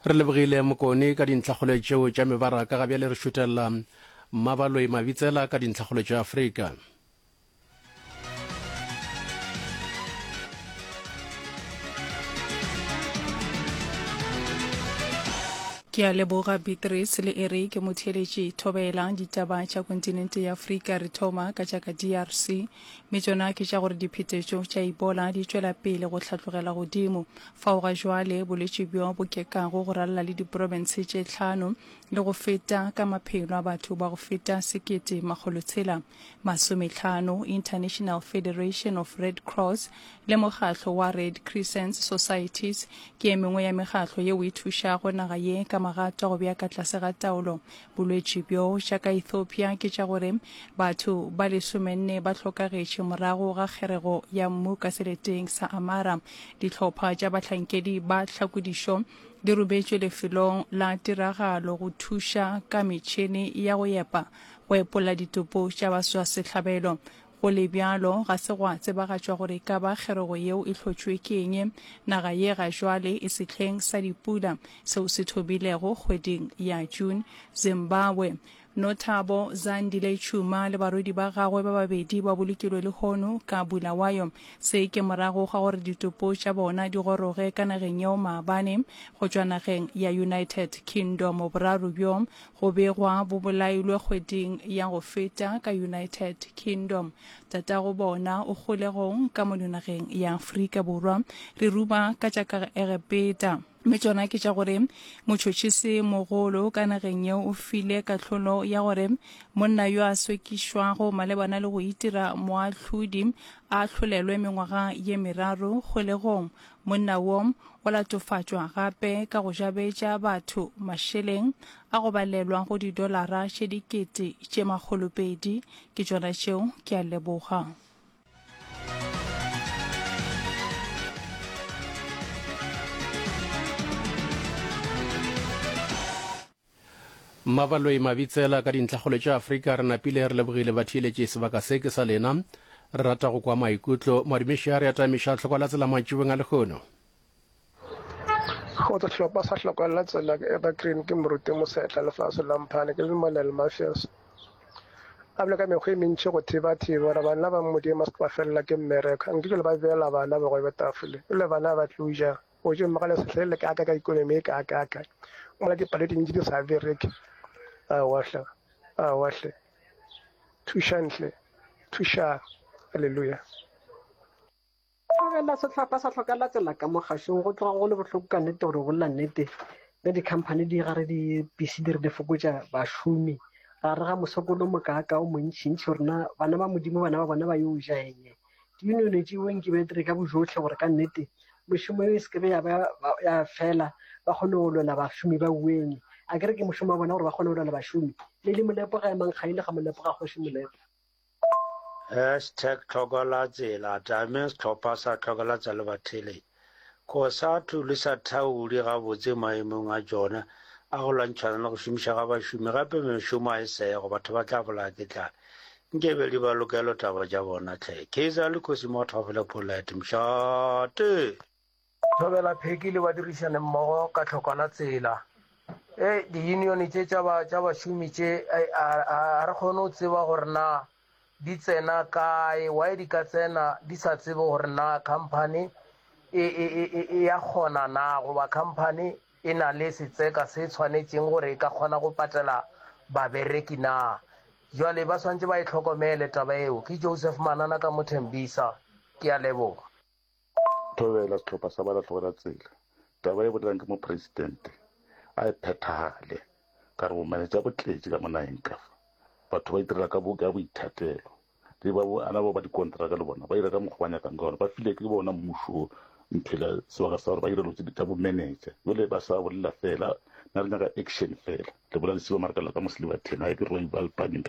Re lebogile Mokone ka dintlhakgolo tšeo tša mebaraka. Ga bjale re šutelela Mmabaloi Mabitsela ka dintlhakgolo tša Afrika. Ke a leboga Beatrice le Eric motheeletši thobela ditaba tša kontinente ya Afrika re thoma ka tša ka DRC mme tšona ke tša gore diphetetšo tša Ebola di tšwela pele go hlatlogela godimo fao ga jwale bolwetši bjo bo kekago go ralala le diprofense tše tlhano le go feta ka maphelo a batho ba go feta 1650. International Federation of Red Cross le mokgatlo wa Red Crescent Societies ke e mengwe ya mekgatlo yeo e thušago naga ye ka magato a go bea ka tlase ga taolo bolwetši bjo. Tša ka Ethiopia ke tša gore batho ba lesomenne ba hlokagetše morago ga kgerego ya mmu ka seleteng sa Amara. Dihlopha tša bahlankedi ba tlhakodišo di rometšwe lefelong la tiragalo go thuša ka metšhene ya go epa go epolla ditopo tša baswasehlabelo. Go le bjalo, ga se gwa tsebagatšwa gore e ka ba kgerego yeo e hlotšwe ke eng. Naga ye ga jwale e sehleng sa dipula seo se thomilego kgweding ya June. Zimbabwe, Nothabo Zandile Tshuma le barwedi ba gagwe ba babedi ba bolokilwe lehono ka Bulawayo. Se ke morago ga gore ditopo tša bona di goroge ka nageng yeo maabane go tšwa nageng ya United Kingdom. Boraro bjo Go begwa bo bolailwe kgweding ya go feta ka United Kingdom. Tatago bona o kgolegong ka mono nageng ya Afrika Borwa. Re ruma ka tša ka Egepeta. Mme tšona ke tša gore motšhotšhisi mogolo ka nageng yeo o file kahlolo ya gore monna yo a sekišwago malebana le go itira moahlodi a ahlolelwe mengwaga ye meraro kgolegong. Monna wo o latofatšwa gape ka go jabetša batho mašeleng a go balelwa go didolara tše 2,200. Ke tšona tšeo, ke a leboga. Mmabaloi Mabitsela ka dintlhakgolo tša Afrika re napile re lebogile batheeletši sebaka se ke sa lena re rata go kwa maikutlo Madumeši a re atamiša tlhoko la tsela mantšibeng a lehono. Kgotsa sehlopha sa hloko la tsela ke Evergreen ke moruti Mosetla lefase la Mphane ke le Monel Mafias a bile ka mekgwa e mentši go thiba-thiba gore bana ba Modimo ba se ke ba felela ke mmereko nke ke le ba beela bana bogobe tafole e le bana ba tlo ja Go tšwe ga lesehle le kaaka ka ikonomi e kaakaaka mola dipalo dintši di sa bereke. Aowa hle, aowa hle. Thušang hle, thušang. Haleluya. Tlogela sehlopha sa hlokela tsela ka mo kgašong go tloga go le bohloko ka nnete gore go bolela nnete ge di-company di gare di busy di re di fokotša bašomi gare ga mosokolo mokaaka o montšintši gore na bana ba modimo bana ba bona ba yo ja eng Diyunione tšeo nke ba dire ka bojohle gore ka nnete mešomo eo e se ke be ya ba ya fela, ba kgone go lwela bašomi ba ueng. A ke re ke mošomo wa bona gore ba kgone go lwela bašomi. Lady Molepo ga emang kgaile ga Molepo ga kgoši Molepo. Hashtag tlhokolatsela tame sehlopha sa tlhokolatsa le batheeletši. Cosatu le sa thauli gabotse maemong a tšona a go lwantšhana le go šomiša ga bašomi gape mešomo a e sego, batho ba tla bolaya ke tlala. Nke be di ba lokelo taba tša bona hle. Kaizer le Khosi Mothofele Polite Mšate! Thobela Pheki le badirišane mmogo ka tlhokwana tsela. E, di-union tše tša ba, tša bašomi tše, a, a, a re kgone go tseba gore na di tsena kae, why di ka tsena di sa tsebe gore na company e, e, e, e, e ya kgona na goba company e na le setseka se tshwanetšeng gore e ka kgona go patela babereki na. Jwale ba swantše ba e hlokomele taba eo. Ke Joseph Manana ka mo Thembisa. Ke a leboga. Thobela sehlopha sa balahlogela tsela. Taba e bolelang ke mopresidente a e phethagale. Ka re bomenetša bo tletše ka mo nageng ka fa. Batho ba itirela ka bo ka boithatelo. Le ba bo ana ba ba dikontraka le bona ba ira ka mokgwa ba nyakang ka gona. Ba file ke bona mmušo nthwela sebaka sa gore ba ire dilo tse tša bomenetša. Jwale ba sa bolela fela, nna re nyaka action fela. Le bolela lesiba mara ka la ka mo Selibatheng, ga ke re ba lepane.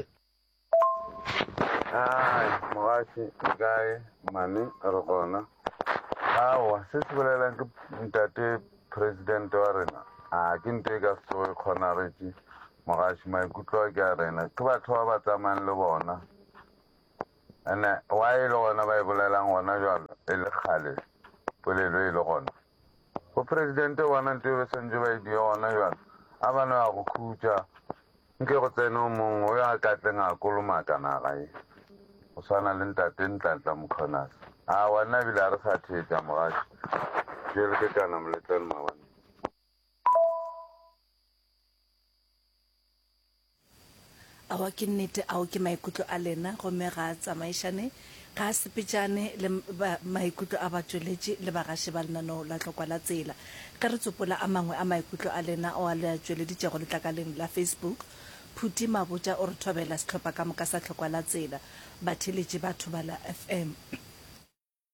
Ai, mogaši le kae mane re gona aowa se se bolelang ke ntate president wa rena a ke nto e ka se tsoge e kgonagetše mogaši maikutlo a ke a rena ke batho ba ba tsamayang le bona ene wa e le gona ba e bolelang gona jalo e le kgale polelo e le gona. Bopresidente bona nto e ba swantše ba e die gona bjale, a ba no ya go khutša, nke go tsene o mongwe o yo a ka tleng a kolomaka naga ye, go swana le ntate Ntlantla Mkhwanazi. Aowa, nna ebile ga re sa theetša mogaši. Bjale ke kana moletlane maabane. Aowa, ke nnete, ao ke maikutlo a lena, gomme ga a tsamaišane, ga a sepetšane le maikutlo a batšweletši le bagaši ba lenaneo la Tlokwa la Tsela. Ge re tsopola a mangwe a maikutlo a lena ao a le a tšweleditšego letlakaleng la Facebook, Phuti Mabotja o re thobela sehlopha ka moka sa Tlokwa la Tsela, batheeletši ba Thobela FM.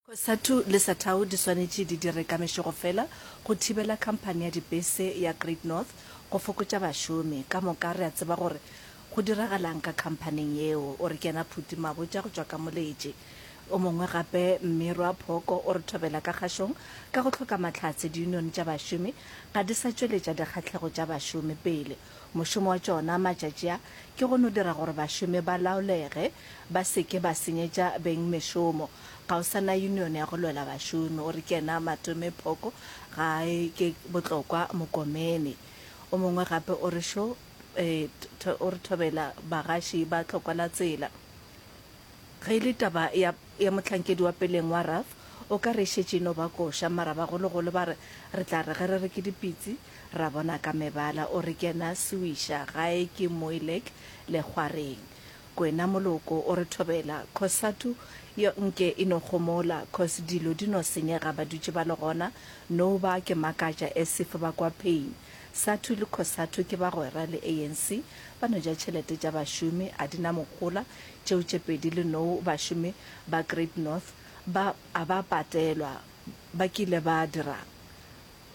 Cosatu le Satau di swanetše di dire ka mešego fela go thibela khamphani ya dipese ya Great North go fokotša bašomi. Ka moka re a tseba gore go diragalang ka khamphaning yeo, o re ke yena Phuti Mabotja go tšwa ka Moletši. O mongwe gape Mmirwa Phoko o re thobela ka kgašong ka go hloka mahlatse diyunione tša bašomi ga di sa tšweletša dikgahlego tša bašomi pele. Mošomo wa tšona matšatši a ke go no dira gore bašomi ba laolege ba se ke ba senyetša beng mešomo. Ga o sa na union ya go lwela bašomi. O re ke yena Matome Phoko gae ke Botlokwa Mokomene. O mongwe gape o re šo o re thobela bagaši ba tlhokwa la tsela. Ge e le taba ya ya mohlankedi wa peleng wa RAF o ka re e šetše e no ba koša mara bagologolo ba re re tla re ge re re ke dipitsi ra bona ka mebala. O re ke yena Sewiša gae ke Moilek Lekgwareng. Kwena Moloko o re thobela, Cosatu yo nke e no gomola cos dilo di no senyega ba dutše ba le gona, no ba ke makatša as if ba kwa pain. Satu le Cosatu ke bagwera le ANC ba no ja tšhelete tša bašomi a di na mohola tšeo tše pedi le nou bašomi ba Great North ba a ba patelwa ba kile ba dirang?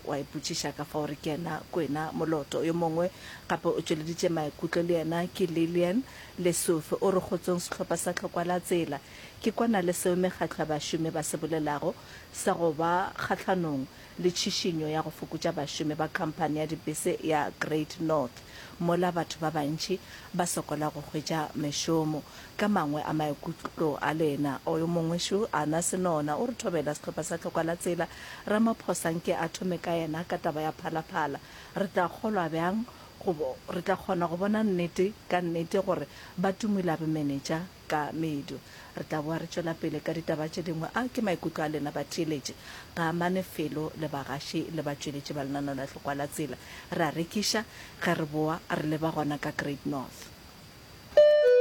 Wa ipotšiša ka fao re ke yena Kwena Moloto. Yo mongwe gape o tšweleditše maikutlo le yena ke Lillian Lesufi. O re kgotsong sehlopha sa Tlhokwa la Tsela. Ke kwana le seo mekgatlo ya bašomi ba se bolelago sa go ba kgahlanong le tšhišinyo ya go fokotša bašomi ba khamphani ya dipese ya Great North mola batho ba bantši ba sokola go hwetša mešomo. Ka mangwe a maikutlo a lena. O yo mongwe šo, Ana Senona, o re thobela sehlopha sa Tlokwa la Tsela. Ramaphosa nke a thome ka yena ka taba ya Phalaphala. Re tla kgolwa bjang go, re tla kgona go bona nnete ka nnete gore ba tumula bomenetša ka medu. Re tla boa re tšwela pele ka ditaba tše dingwe. A ke maikutlo a lena batheeletši. Ga amane felo le bagaši le batšweletši ba lenaneo la Tlokwa la Tsela. Re a rekiša ge re boa re leba gona ka Great North.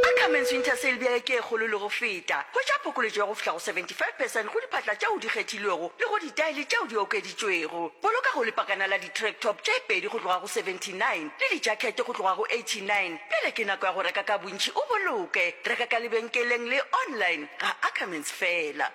Ackermans Winter Sale bjale ke e kgolo le go feta. Hwetša phokoletšo ya go fihla go 75 percent go diphahla tšeo di kgethilwego le go ditaele tšeo di okeditšwego. Boloka go lepakana la di-track top tše pedi go tloga go 79 le dijakhete go tloga go 89. Bjale ke nako ya go reka ka bontši o boloke. Reka ka lebenkeleng le online ga Ackermans feela.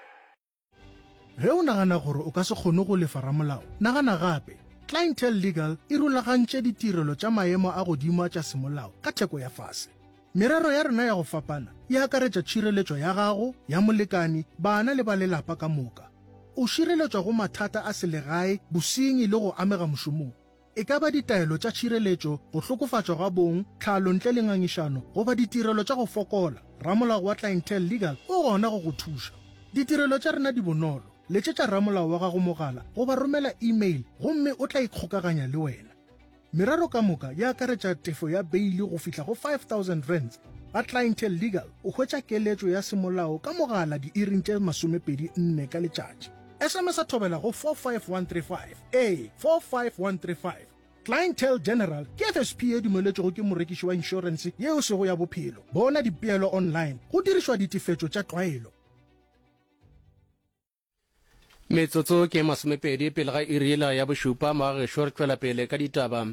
Ge o nagana gore o ka se kgone go lefa ramolao, nagana gape. Clientele Legal e rulagantše ditirelo tša maemo a godimo a tša semolao ka theko ya fase. Merero ya rena ya go fapana e akaretša tšhireletšo ya gago, ya molekani, bana le ba lelapa ka moka. O šireletšwa go mathata a selegae, bosenyi le go amega mošomong. E ka ba ditaelo tša tšhireletšo, go hlokofatšwa ga bong, tlhalo ntle le ngangišano, goba ditirelo tša go fokola, ramolao wa Clientele Legal o gona go go thuša. Ditirelo tša rena di bonolo. Letšetša ramolao wa gago mogala goba romela e-mail gomme o tla ikgokaganya le wena. Merero ka moka e akaretša tefo ya beili go fihla go R5000. Ga Clientele Legal o hwetša keletšo ya semolao ka mogala diiring tše 24 ka letšatši. SMS-a thobela go 45135. Ee, 45135. Clientele General ke FSP ye dumeletšwego ke morekiši wa inšorense ye e sego ya bophelo. Bona dipeelo online go dirišwa ditefetšo tša tlwaelo. Metsotso ke masomepedi pele ga iri yela ya bošupa, magagešo re tšwela pele ka ditaba.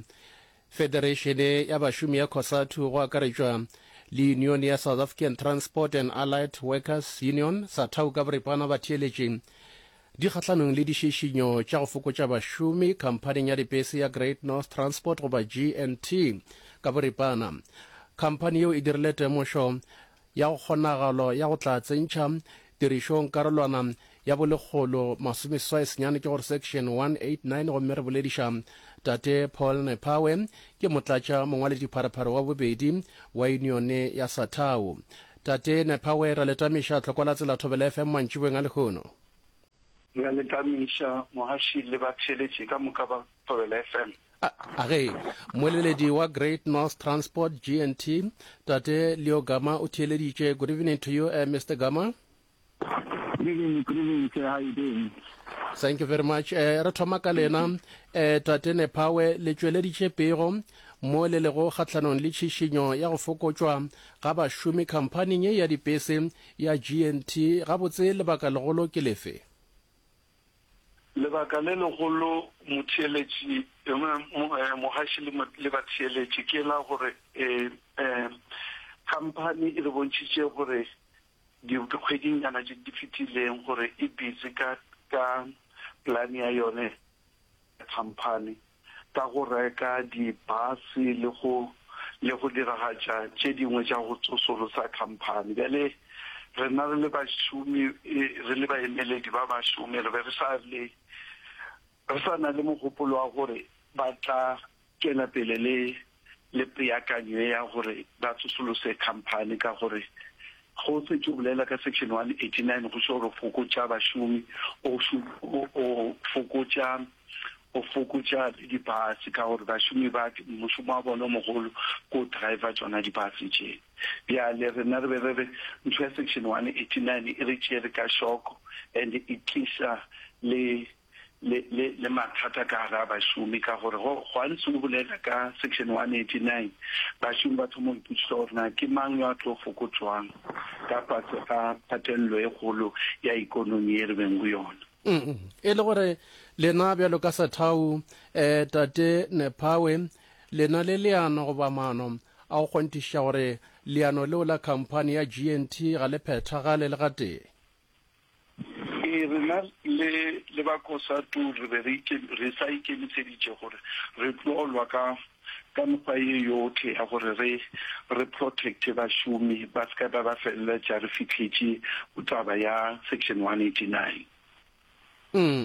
Federeišene ya bašomi ya Cosatu go akaretšwa le yunione ya South African Transport and Allied Workers Union, SATAWU ka boripana, ba theeletše di kgahlanong le dišišinyo tša go fokotša bašomi khamphaning ya dipese ya Great North Transport goba GNT ka boripana. Khamphani yeo e dirile temošo ya go kgonagalo ya go tla tsentšha tirišong karolwana ya bolekgolo masomeseswai senyane ke gore section 189 gomme re bolediša tate Paul Nephawe ke motlatša mongwaledipharephare wa bobedi wa yunione ya Satau. Tate Nephawe ra le tamiša tlhoko la tsela Thobela FM mantšiboeng a lehono. Re a le tamiša, mohaši le batheeletši ka moka ba Thobela FM. A ge moeleledi wa Great North Transport, GNT, Tate Leo Gama o theeleditše. Good evening to you, uh, Mr. Gama. Good evening, good evening, sir. How you doing? Thank you very much. Eh, re thoma ka lena eh, Tate Nephawe le tšweleditše pego mo le lego kgahlanong le tšhišinyo ya go fokotšwa ga bašomi khamphaning ye ya dipese ya GNT. Gabotse lebaka legolo ke lefe? Lebaka le legolo motheeletši, mogaši le batheeletši ke la gore khamphani e re bontšhitše gore dikgwedinyana tše di fetileng gore e busy ka ka plan ya yone ya khamphani ka go reka dibase le go le go diragatša tše dingwe tša go tsosolosa khamphani. Bjale rena re le bašomi, re le baemeledi ba bašomi re be re sa le re sa na le mogopolo wa gore ba tla tšwela pele le le peakanyo ye ya gore ba tsosolose khamphani ka gore ge o setše o bolela ka section 189 go šoro fokotša bašomi o o fokotša o fokotša le dibase ka gore bašomi ba mošomo wa bona o mogolo ke o driver tšona dibase tše. Bjale rena re be re re ntho ya section 189 e re tšere ka šoko and e tliša le le, le, le mathata ka gare a bašomi, ka gore go, gantsi o bolela ka section 189, bašomi ba thoma go ipotšiša gore na ke mang yo a tlo fokotšwang ka fase ga kgatelelo e kgolo ya ikonomi ye re beng go yona. E le gore lena bjalo ka Sethau, eh, Tate Nephawe, lena le leano goba maano a go kgonthišiša gore leano leo la khamphani ya GNT ga le phethagale le gatee? Ee, rena le, le ba Cosatu re be re ike, re sa ikemiseditše gore re tlo lwa ka, ka mekgwa ye yohle ya gore re, re protecte bašomi ba se ka ba ba feleletša re fihletše go taba ya Section 189.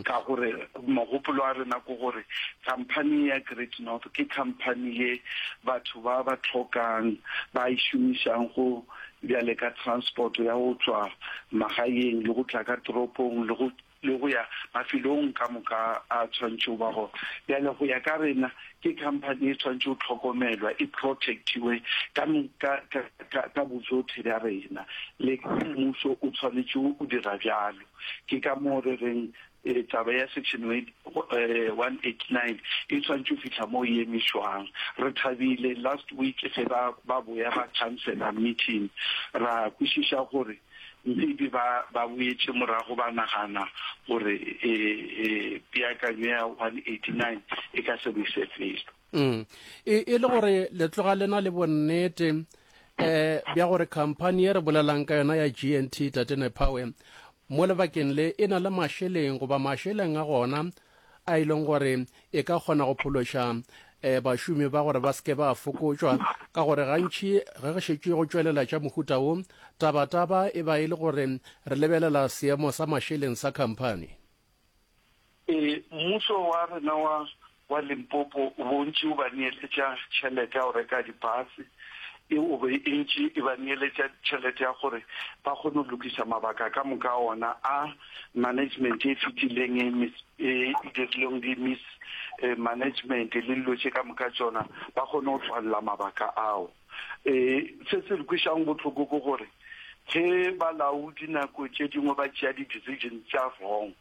Ka gore mogopolo wa rena ke gore khamphani ya Great North ke khamphani ye batho ba ba hlokang ba e šomišang go bjale ka transport ya go tšwa magaeng le go tla ka toropong le go le go ya mafelong ka moka a tshwanetšego ba gona. Bjale go ya ka rena ke khamphani e tshwanetše go hlokomelwa e protectiwe ka ka ka ka bojothe bja rena le mmušo o tshwanetše o dira bjalo. Ke ka moo re reng taba ya Section 189 e tshwanetše go fihla mo e emišwang. Re thabile last week ge ba ba boya ba khansela meeting, ra kwešiša gore maybe ba ba boetše morago ba nagana gore peakanyo ya 189 e ka se re ise felo. Mm. E, e le gore le tloga le na le bonnete um bja gore khamphani ye re bolelang ka yona ya GNT Tate Nephawe mo lebakeng le e na le mašeleng goba mašeleng a gona a e leng gore e ka kgona go phološa um bašomi ba gore ba seke ba fokotšwa ka gore gantši ge re šetše go tšwelela tša mohuta wo tabataba e ba e le gore re lebelela seemo sa mašeleng sa khamphani. Ee, mmušo wa rena wa wa Limpopo o be o ntše o ba neeletša tšhelete ya go reka dipase, e o be e ntše e ba neeletša tšhelete ya gore ba kgone go lokiša mabaka ka moka a ona a management e fetileng e mis e dirileng di mis management le dilo tše ka moka tšona ba kgone go tswalela mabaka ao. E se se re kwešang bohloko ke gore ge balaodi nako tše dingwe ba tšea di-decision tša wrong,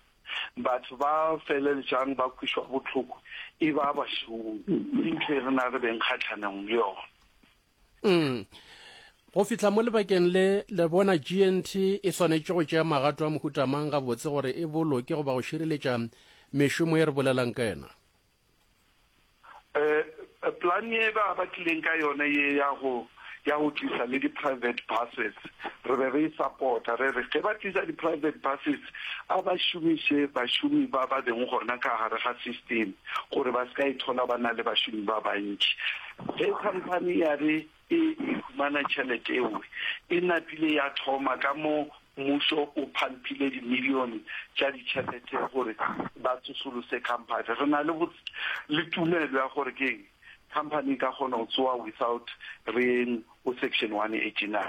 Batho ba feleletšang ba kwešwa bohloko e ba bašomi. Ke ntho e rena re beng kgahlanong le yona. Mm. Go fihla mo lebakeng le, le bona GNT e swanetše go tšea magato a mohuta mang gabotse gore e boloke goba go šireletša mešomo ye re bolelang ka yona? Eh, plan ye ba ba tlileng ka yone ye ya go ya go tlisa le di-private buses re be re e support-a re re ge ba tlisa di-private buses a ba šomiše bašomi ba ba beng gona ka gare ga system gore ba se ka ithola ba na le bašomi ba bantši ge company ya re e e humana tšhelete ewe e napile ya thoma ka mo mmušo o phampile dimilione tša ditšhelete gore ba tsosolose company. Re na le le tumelo ya gore ke eng company e ka kgona go tsoa without re yeng go section 189.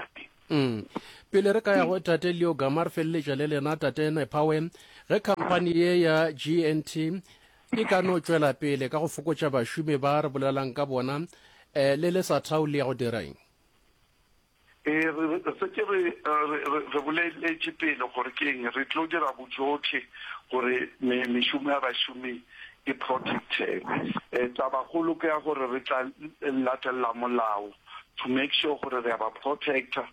Mm. Pele re ka ya go Tate Leo Gama re feleletša le lena Tate Nephawe. Ge khamphani ye ya GNT e ka no tšwela pele ka go fokotša bašomi ba re bolelang ka bona, um le le sa thau le ya go dira eng? Ee, re šetše re, re, re boleletše pele gore ke eng, re tlo dira bojohle gore me, mešomo ya bašomi e protectege. Eh, tabakgolo ke ya gore re tla latelela molao to make sure gore re a ba protecta.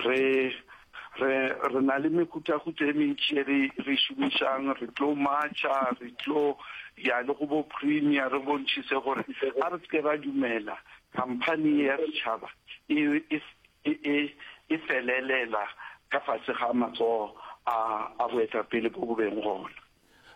Re, re, re na le mehutahuta e mentši e re, re e šomišang, re tlo marcha, re tlo ya le go bo premier re bontšhise gore a re se ke ra dumela Khamphani ye ya setšhaba e, e, e, e felelela ka fase ga matsogo a, a boetapele bo bo beng gona.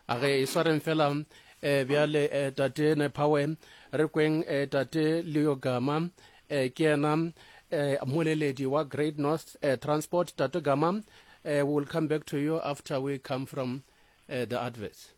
A re e swareng fela eh, bjale eh, tate Nephawe, re kweng eh, tate Leo Gama eh, ke yena eh, mmoleledi wa Great North eh, Transport. Tate Gama, eh, we will come back to you after we come from eh, the adverts.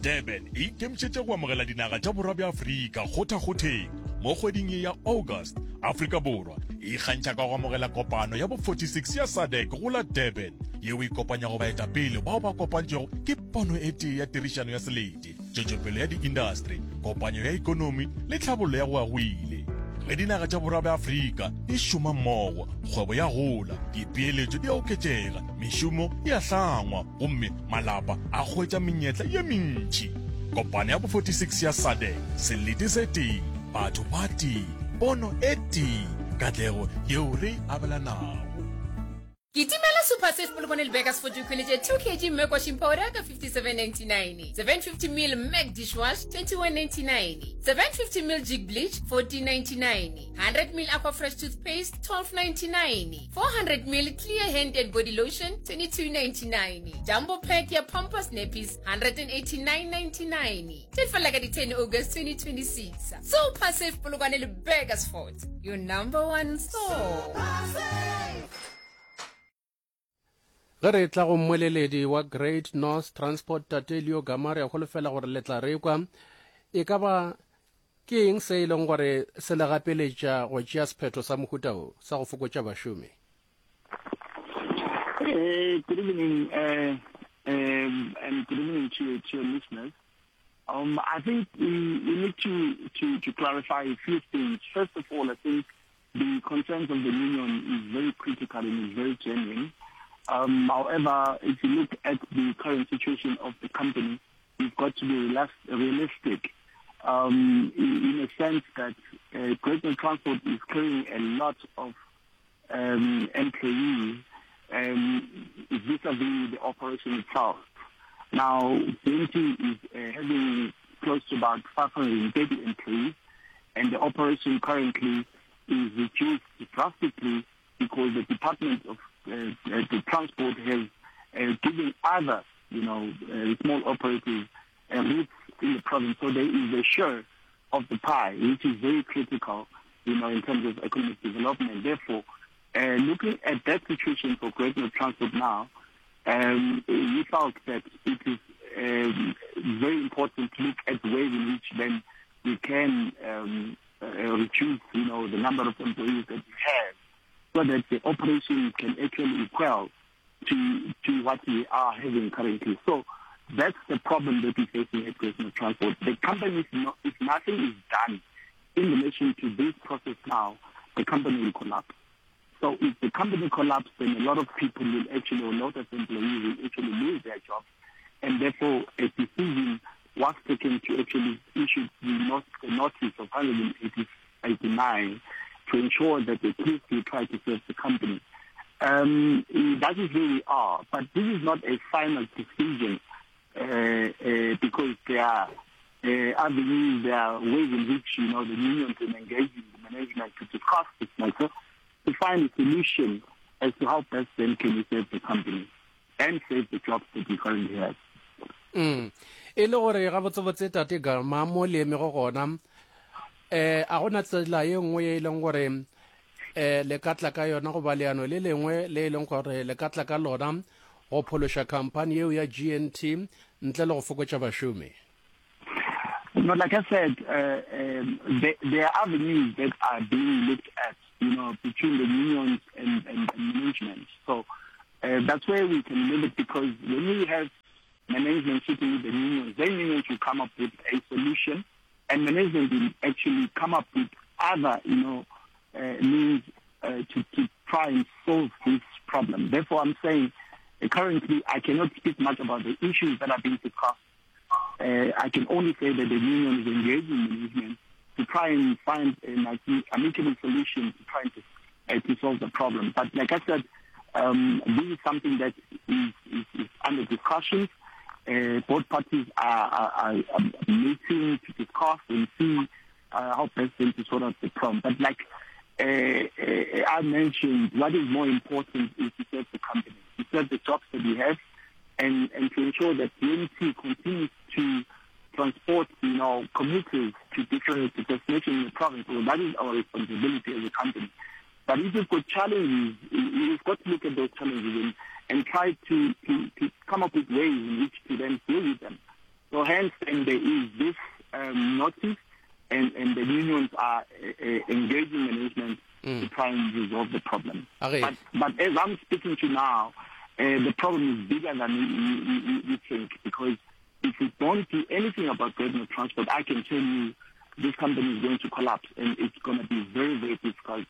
Durban e ikemišetše go amogela dinaga tša borwa bja Afrika kgothakgotheng mo kgweding ye ya August. Afrika Borwa e ikgantšha ka go amogela kopano ya bo 46 ya SADC go la Durban, yeo e kopanyago baetapele bao ba kopantšwego ke pono e tee ya tirišano ya selete, tšwetšopele ya diindastri, kopanyo ya ekonomi le tlhabollo ya go ya go ile. Ge dinaga tša borwa bja Afrika di šoma mmogo, kgwebo ya gola, dipeeletšo di a oketšega, mešomo e a hlangwa gomme malapa a hwetša menyetla ye mentši. Kopano ya bo 46 ya SADC, selete se tee, batho ba tee, pono e tee, katlego yeo re e abelanago. Kitimela Super Safe Polokwane le Burgers for ikhweletše 2 kg Mac washing powder ka 57.99, 750 ml Mac dishwash 21.99, 750 ml Jig bleach 14.99, 100 ml Aqua Fresh toothpaste 12.99, 400 ml Clear hand and body lotion 22.99, Jumbo pack ya Pampers nappies 189.99. Tše fela ka di 10 August 2026. Super Safe Polokwane le Burgersfort, your number one store. Ge re tla go mmoleledi wa Great North Transport Tate Leo Gama re a holofela gore le tla re kwa e ka ba ke eng se e leng gore se le gapeletša go tšea sephetho sa mohuta o sa go fokotša bašomi. Uh, good evening, uh, um, and good evening to, to your listeners. Um, I think we, we need to, to, to clarify a few things. First of all, I think the concerns of the union is very critical and is very genuine. Um, however, if you look at the current situation of the company, you've got to be realistic um, in, in a sense that uh, Great Transport is carrying a lot of um, employees um, vis-a-vis the operation itself. Now, BNT is uh, having close to about 530 employees, and the operation currently is reduced drastically because the Department of uh, uh the Transport has uh, given other, you know, uh, small operators uh, routes in the province. So there is a share of the pie, which is very critical, you know, in terms of economic development. Therefore, uh, looking at that situation for Great North Transport now, um, we felt that it is um, very important to look at ways in which then we can um, uh, reduce, you know, the number of employees that we have so that the operation can actually equal to, to what we are having currently. So that's the problem that we're facing at Great North Transport. The company, is not, if nothing is done in relation to this process now, the company will collapse. So if the company collapses, then a lot of people will actually, or a lot of employees will actually lose their jobs. And therefore, a decision was taken to actually issue the, not, the notice of 189 to ensure that at least we try to save the company. Um, that is where we are. But this is not a final decision uh, uh, because there are uh, avenues, there are ways in which, you know, the union can engage in the management to discuss this matter to find a solution as to how best then can we save the company and save the jobs that we currently have. Mm. E le gore gabotsebotse tate Gama mo le emego gona eh a gona tsela ye nngwe ye e leng gore eh le ka tla ka yona goba leano le lengwe le e leng gore le ka tla ka lona go phološa khamphani yeo ya GNT ntle le go fokotša bašomi? No, like I said, uh, um, there, there are avenues that are being looked at, you know, between the unions and, and, and management. So. Uh, that's where we can live it because when we have management sitting with the unions, then unions will come up with a solution and management will actually come up with other, you know, uh, means uh, to, to try and solve this problem. Therefore, I'm saying uh, currently I cannot speak much about the issues that are being discussed. Uh, I can only say that the union is engaging management to try and find an amicable solution to try to, uh, to solve the problem. But like I said, um, this is something that is, is, is under discussions. Uh, both parties are, are, are meeting to discuss and see uh, how best to sort out the problem. But like uh, uh, I mentioned, what is more important is to serve the company, to serve the jobs that we have, and, and to ensure that GNT continues to transport, you know, commuters to different destinations in the province. So that is our responsibility as a company. But if you've got challenges, you've got to look at those challenges and, and try to, to, to come up with ways in which to then deal with them. So hence, then there is this um, notice, and, and the unions are uh, uh engaging management mm. to try and resolve the problem. Okay. But, but as I'm speaking to now, uh, the problem is bigger than we, we, we think because if we don't do anything about Great Transport, I can tell you this company is going to collapse and it's going to be very, very difficult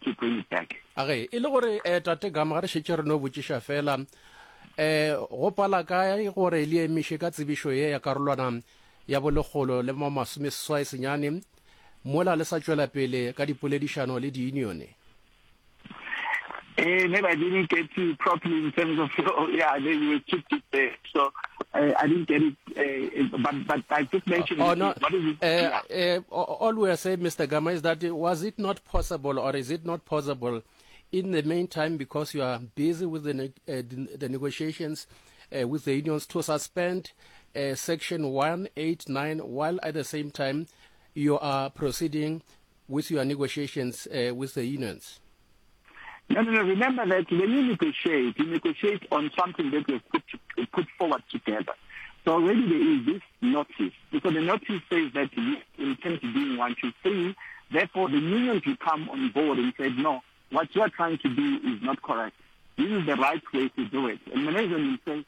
to bring it back. Age, e le gore eh, Tate Gama ga re šetše re no botšiša fela eh go pala kae gore le emiše ka tsebišo ye ya karolwana ya bolekgolo le ma masomeseswai senyane mola le sa tšwela pele ka dipoledišano le diunione? Eh, maybe I didn't get you properly in terms of yeah, you were too deep there. So uh, I didn't get it. Uh, but but I just mentioned. Oh, no. What is it? Uh, uh, all we are saying, Mr. Gama, is that was it not possible, or is it not possible, in the meantime, because you are busy with the uh, the, negotiations uh, with the unions, to suspend uh, Section 189 while at the same time you are proceeding with your negotiations uh, with the unions? No, no, no. Remember that when you negotiate, you negotiate on something that you put, to, put forward together. So already there is this notice. Because the notice says that we intend to do one, two, three. Therefore, the unions will come on board and say, no, what you are trying to do is not correct. This is the right way to do it. And management will say,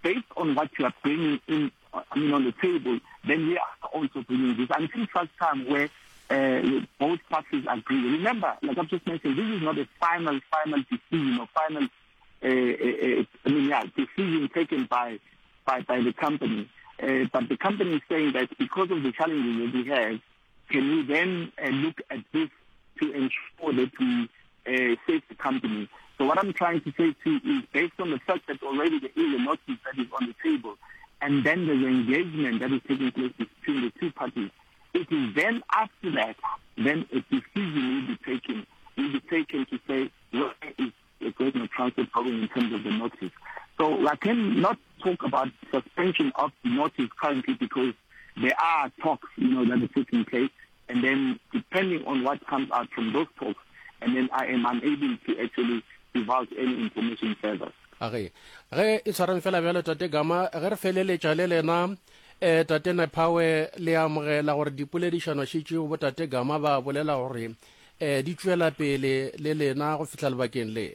based on what you are bringing in, I mean, on the table, then we are also bringing this. Until such time where uh, both parties agree. Remember, like I've just mentioned, this is not a final, final decision or final, uh, uh, uh I mean, yeah, decision taken by, by, by the company. Uh, but the company is saying that because of the challenges that we have, can we then uh, look at this to ensure that we uh, save the company? So what I'm trying to say to you is based on the fact that already there is a notice that is on the table, and then there's engagement that is taking place between the two parties, It is then after that, then a decision will be taken, will be taken to say where is the Great North Transport going in terms of the notice. So I cannot talk about suspension of the notice currently because there are talks, you know, that are taking place. And then depending on what comes out from those talks, and then I am unable to actually divulge any information further. Age, ge e tshwarang fela bjalo Tate Gama, ge re feleletša le lena Eh, Tate Nephawe, le amogela gore dipoledišano šetšeo bo Tate Gama ba bolela gore eh, di tšwela pele le lena go fihla lebakeng le?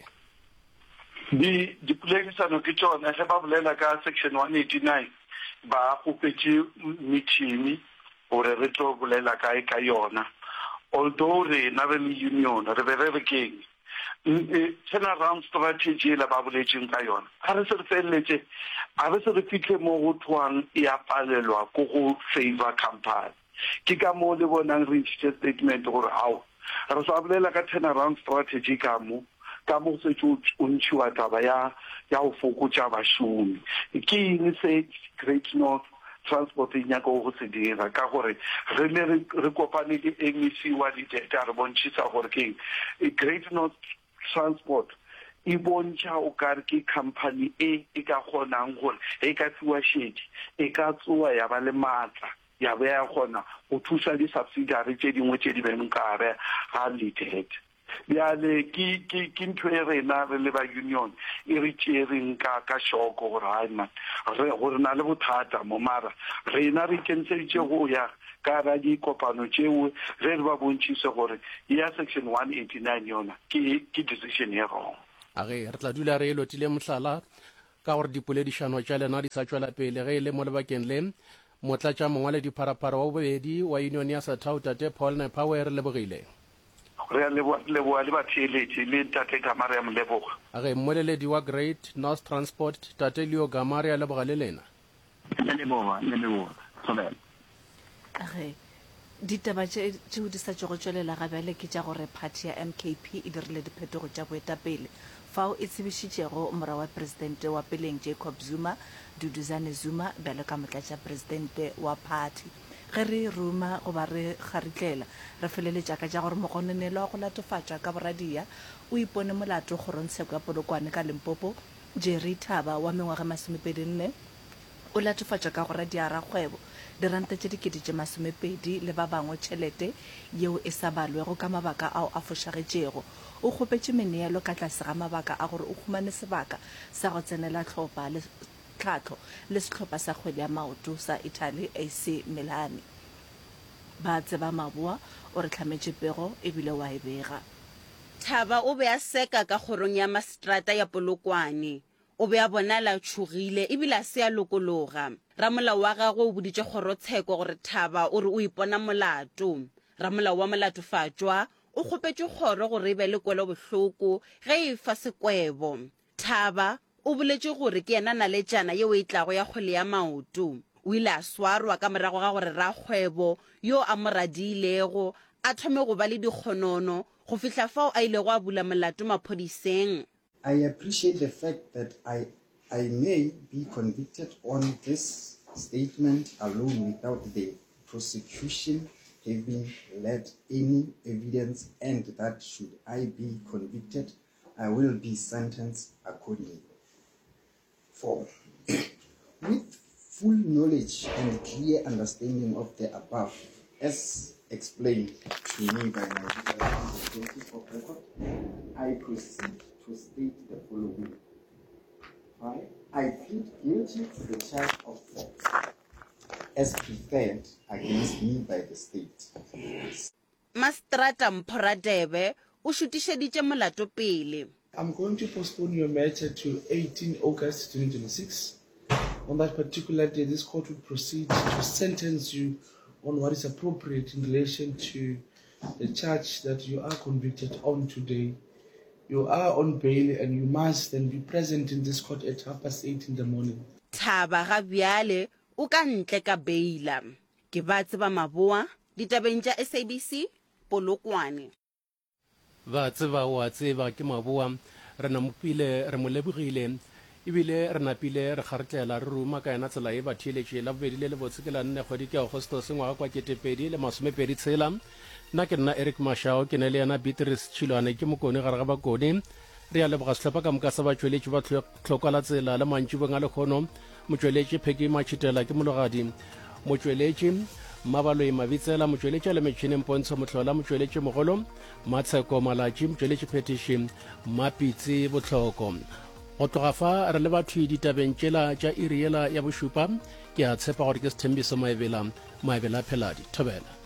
Di, dipoledišano ke tšona, ge ba bolela ka Section 189, ba kgopetše meeting gore re tlo bolela kae ka yona. Although rena re le union, re be re re ke'ng? Turnaround strategy yela ba boletšeng ka yona, a re se re feleletše, a re se re fihle mo go thwang e a palelwa ko go favour company. Ke ka moo le bonang re ntšhitše statement gore ao, re sa bolela ka turnaround strategy ka mo, ka mo go šetše o ntšhiwa taba ya ya go fokotša bašomi. Ke eng se Great North Transport e nyakago go se dira? Ka gore re ne re re kopane le MEC wa Lidete a re bontšhisa gore ke eng Great North Transport e bontšha o ka re ke company e e ka kgonang gore ge e ka fiwa šedi e ka tsoa ya ba le maatla ya be ya kgona go thusa di-subsidiary tše dingwe tše di beng ka gare ga Lidete. Bjale ke, ke, ke ntho e rena re le ba union e re tšereng ka, ka šoko gore hai man, re, gore na le bothata mo, mara rena re ikemiseditše go ya ka ra dikopano tšeo ge re ba bontšhise gore ya section 189 yona ke, ke decision ye wrong. A ge re tla dula re e lotile mohlala ka gore dipoledišano tša lena di sa tšwela pele ge e le mo lebakeng le, Motlatšamongwaledipharapara wa bobedi wa Union ya Sathau Tate Paul Nepawe re lebogile. Re a leboga, re leboga le batheeletši le Ntate Gama re a mo leboga. A ge mmoleledi wa Great North Transport Tate Leo Gama re a leboga le lena. Re leboga, re leboga. Thobela. A ge ditaba tše tšeo di sa tšogo tšwelela ga bjale ke tša gore phathi ya MKP e dirile diphetogo tša boetapele fao e tsebišitšego morwa wa presidente wa peleng Jacob Zuma, Duduzane Zuma bjalo ka motlatšapresidente wa phathi. Ge re ruma goba re kgaritlela, re feleletša ka tša gore mogononelwa wa go latofatšwa ka boradia o ipone molato kgorongtsheko ya Polokwane ka Limpopo, Jerry Thaba wa mengwaga e masomepedinne, o latofatšwa ka go radia rakgwebo diranta tše dikete tše masomepedi le ba bangwe tšhelete yeo e sa balwego ka mabaka ao a fošagetšego. O kgopetše meneelo ka tlase ga mabaka a gore o humane sebaka sa go tsenela hlopha le tlhahlo le sehlopha sa kgwele ya maoto sa Italy AC Milan. Ba tseba Maboa o re hlametše pego ebile wa e bega. Thaba o be a seka ka kgorong ya maseterata ya Polokwane. O be a bonala a tšhogile e bile a se a lokologa. Ramolao wa gagwe o boditše kgorotsheko gore Thaba o re o ipona molato. Ramolao wa molatofatšwa o kgopetše kgoro gore e be le kwelobohloko ge e efa sekwebo. Thaba o boletše gore ke yena naletšana yeo e tlago ya kgwele ya maoto. O ile a swarwa ka morago ga gore rakgwebo yo a mo radiilego a thome go ba le dikgonono go fihla fao a ilego a bula molato maphodiseng. I appreciate the fact that I I may be convicted on this statement alone without the prosecution having led any evidence and that should I be convicted, I will be sentenced accordingly. 4. With full knowledge and clear understanding of the above, as explained to me by my legal representative of record, I proceed to state the following. 5. I plead guilty to the charge of theft as preferred against me by the state. Maseterata Mpho Radebe o šutišeditše molato pele. I'm going to postpone your matter to 18 August 2026. On that particular day, this court will proceed to sentence you on what is appropriate in relation to the charge that you are convicted on today. You are on bail and you must then be present in this court at half past eight in the morning. Thaba ga bjale o ka ntle ka beila. Ke ba tseba maboa ditabeng tša SABC, Polokwane. Ba tseba o a tseba ke maboa. Re namopile re mo lebogile ebile re napile re kgaretlela re ruma ka yena tsela ye batheeletše Labobedi le lebotse ke la nne kgwedi ke Agostose ngwaga kwa 2020 tshela. Nna ke nna Eric Mashao ke ne le yena Beatrice Tšhilwane ke mokone gare ga bakone. Re a leboga sehlopha ka moka sa batšweletši ba Tlhokwa la Tsela le mantšibong a lekgono. Motšweletši Pheki Matšhitela ke mologadi. Motšweletši Mmabaloi Mabitsela, motšweletši a le metšhineng Pontsho Mohlola, motšweletši mogolo Matsheko Malatši, motšweletši phethiši Mmapitsi Bohloko. Go tloga fa re le bathwi ditabeng tšela tša iri yela ya bošupa, ke a tshepa gore ke Sethembiso Maebela, Maebela Pheladi. Thobela.